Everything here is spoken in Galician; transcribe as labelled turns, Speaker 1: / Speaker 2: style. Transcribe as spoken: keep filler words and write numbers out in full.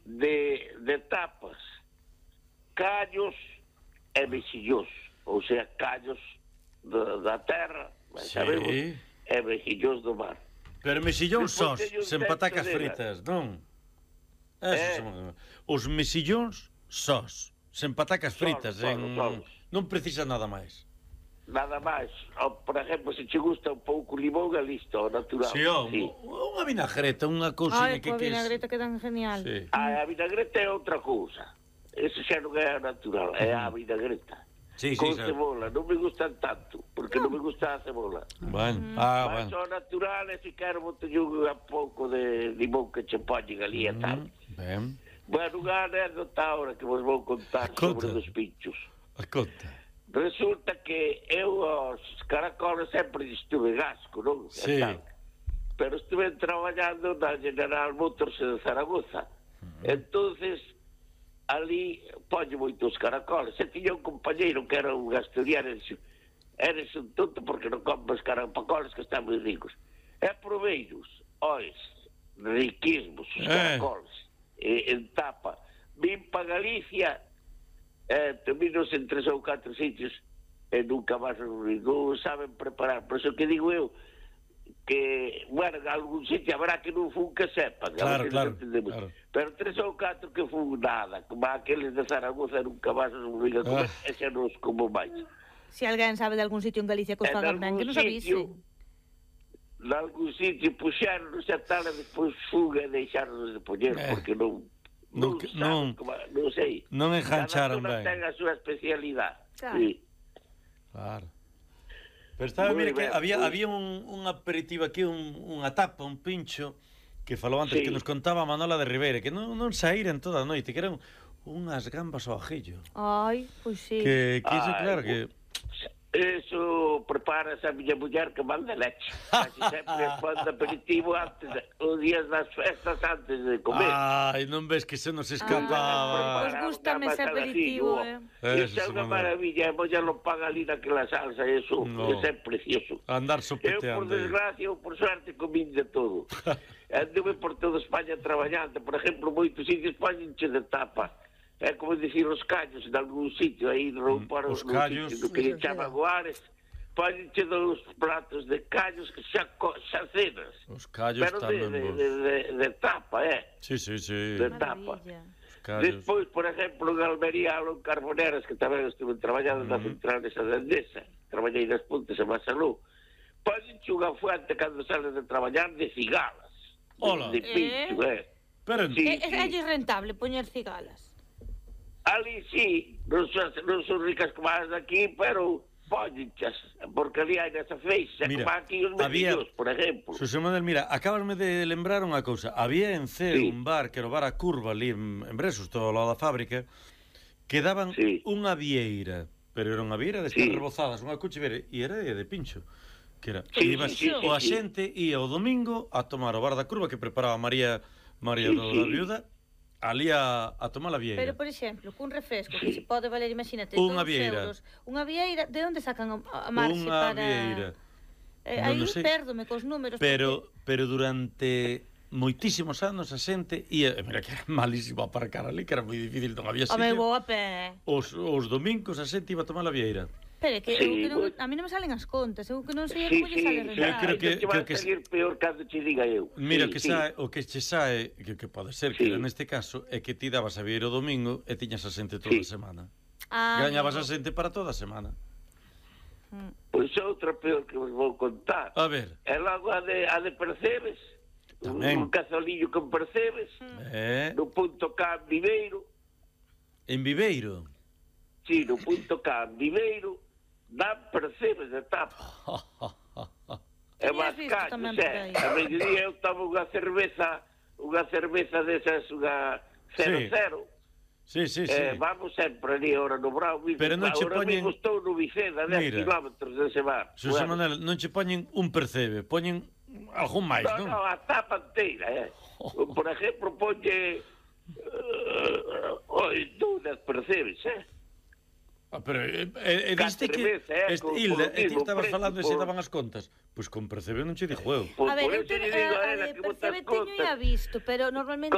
Speaker 1: de, de tapas, callos e mexillós, ou sea, callos da, da terra, sí. Sabemos, e mexillós do mar.
Speaker 2: Pero mexillóns sós, sen patacas fritas, non? Eh? Son... Os mexillóns sós, sen patacas fritas, solo, en... solo, solo. Non precisa nada máis.
Speaker 1: Nada máis. O, por exemplo, se che gusta un pouco limón, é listo, natural.
Speaker 2: Sí, oh, sí. Unha vinagreta, unha cousinha que...
Speaker 3: Ai, que a vinagreta quedan genial.
Speaker 2: Sí.
Speaker 1: Ah, a vinagreta é outra cousa. Ese xa non é natural, é a vinagreta.
Speaker 2: Sí,
Speaker 1: con
Speaker 2: sí,
Speaker 1: cebola, non me gustan tanto, porque non, non me gusta a cebola.
Speaker 2: Bueno, mm. ah,
Speaker 1: Mas
Speaker 2: bueno.
Speaker 1: son naturales e quero botello un pouco de limón que che poñen ali e mm. tal.
Speaker 2: Ben.
Speaker 1: Bueno, unha anécdota ahora que vos vou contar sobre os pinchos.
Speaker 2: A conta.
Speaker 1: Resulta que eu aos caracoles sempre estuve gasco, non?
Speaker 2: Sí.
Speaker 1: Pero estuve traballando na General Motors de Zaragoza. Uh-huh. Entonces, ali poño moitos caracoles. E tiña un compañeiro que era un asturiano e dixo, eres un tonto porque non compras caracoles que están moi ricos. E proveiros, ois, riquísimos os caracoles. Eh. E, en tapa. Vim pa Galicia... Eh, terminos en tres ou catro sitios e nunca máis non saben preparar. Por eso que digo eu que, bueno, en algún sitio habrá que non fun que sepan,
Speaker 2: claro, claro, claro.
Speaker 1: Pero tres ou catro que fun nada, como aqueles de Zaragoza nunca máis non viga comer, ah. e xa non os como máis.
Speaker 3: Se alguén sabe de algún sitio en Galicia que os faga ben, que nos avise.
Speaker 1: En algún sitio puxeron xa tal e despois fuga e deixaron de poñer, eh. porque non Non, non, como, non sei.
Speaker 2: Non engancharon ben.
Speaker 1: Cada ten a súa especialidade.
Speaker 3: Claro.
Speaker 1: Sí.
Speaker 2: Claro. Pero estaba, mira, que había, había un, un aperitivo aquí, un, unha tapa, un pincho, que falou antes, sí. que nos contaba Manola de Ribeira, que non, non saíran toda a noite, que eran unhas gambas ao ajillo.
Speaker 3: Ai, pois sí.
Speaker 2: Que, que iso, claro, que...
Speaker 1: Eso prepara a miña muller que manda leche. Casi sempre pon de aperitivo antes, os días das festas antes de comer.
Speaker 2: Ai, non ves que se nos escapaba.
Speaker 3: Pois gustame ese aperitivo, eh.
Speaker 1: Iso é unha maravilla, e molla lo paga ali naquela salsa, eso, no. Eso é precioso.
Speaker 2: Andar sopeteando.
Speaker 1: Eu, por desgracia, ou por suerte, comín de todo. Anduve por toda España traballando, por exemplo, moitos sitios poñenche de tapa. É como dicir os callos en algún sitio aí rompar
Speaker 2: os callos
Speaker 1: do que lle chama Guares, póñenche dos platos de callos que xa, xa cenas,
Speaker 2: os callos
Speaker 1: pero
Speaker 2: tamén
Speaker 1: de,
Speaker 2: vos...
Speaker 1: de, de, de tapa, eh
Speaker 2: sí, sí, sí.
Speaker 1: de tapa. Despois, por exemplo, en Almería en Carboneras, que tamén estuve traballando uh -huh. na central esa de Endesa, traballei nas Pontes en Masalú, póñenche unha fuente cando sales de traballar de cigalas.
Speaker 2: Hola.
Speaker 1: De, de pincho, eh, eh.
Speaker 3: Pero sí, é, sí. é rentable poñer cigalas.
Speaker 1: Ali sí, non son, non son ricas como as daqui, pero póñenchas, porque ali hai nesa feixa, como aquí os mexillos, por exemplo.
Speaker 2: Xosé Manuel, mira, acabasme de lembrar unha cousa. Había en Ceo
Speaker 1: sí.
Speaker 2: un bar, que era o bar A Curva, ali en, en Bresos, todo ao lado da fábrica, que daban
Speaker 1: sí.
Speaker 2: unha vieira, pero era unha vieira de estas sí. rebozadas, unha cuchivera, e era de, de pincho. Que era,
Speaker 1: sí,
Speaker 2: iba,
Speaker 1: sí, sí,
Speaker 2: o a
Speaker 1: sí.
Speaker 2: xente ia o domingo a tomar o bar da Curva que preparaba María María sí, do, sí. da Viuda, ali a, a tomar a vieira.
Speaker 3: Pero, por exemplo, cun refresco que se pode valer, imagínate,
Speaker 2: unha
Speaker 3: dous
Speaker 2: vieira.
Speaker 3: euros. Unha vieira, de onde sacan a marxe para...
Speaker 2: Unha vieira.
Speaker 3: Eh, aí pérdome cos números.
Speaker 2: Pero,
Speaker 3: porque...
Speaker 2: pero durante moitísimos anos a xente ia... Mira, que era malísimo aparcar ali, que era moi difícil, non había sitio.
Speaker 3: Home, vou a pé.
Speaker 2: Os, os domingos a xente iba a tomar a vieira.
Speaker 3: Pero que, sí, eu que non, a mí non me salen as contas, eu que non sei sí, como lle sale rentar.
Speaker 2: Eu creo que,
Speaker 1: que,
Speaker 2: creo que
Speaker 1: salir peor cando che diga eu.
Speaker 2: Mira,
Speaker 1: sí,
Speaker 2: que
Speaker 1: sí.
Speaker 2: sae, o que che sae, que, que pode ser que sí. neste caso, é que ti dabas a vieira o domingo e tiñas a xente toda sí. a semana. Ah, gañabas no. a xente para toda a semana.
Speaker 1: Pois é outra peor que vos vou contar.
Speaker 2: A ver.
Speaker 1: É logo a de, a de Percebes.
Speaker 2: Tamén.
Speaker 1: Un cazolillo con Percebes.
Speaker 2: Eh.
Speaker 1: No punto K en Viveiro.
Speaker 2: En Viveiro?
Speaker 1: Sí, no punto K en Viveiro. Dan Percebes de tapa. É máis callos, é. A mediodía eu tomo unha cerveza, unha cerveza desas, unha cero cero.
Speaker 2: Sí, sí, sí.
Speaker 1: Eh, vamos sempre ali ahora no Brau.
Speaker 2: Pero non che poñen...
Speaker 1: Ahora mismo estou no Viceda, dez kilómetros dese bar.
Speaker 2: Xosé Manuel, non che poñen un Percebe, poñen algún máis, non?
Speaker 1: Non, non, a tapa inteira, eh. Por exemplo, poñe... Oi, dúas Percebes, eh.
Speaker 2: Ah, pero eh, eh, diste que
Speaker 1: eh,
Speaker 2: este, Hilda, e ti estabas falando e se daban as contas. Pois con Percebe non che dixo eu.
Speaker 3: A ver, eu te, a, a de Percebe teño ya visto, pero normalmente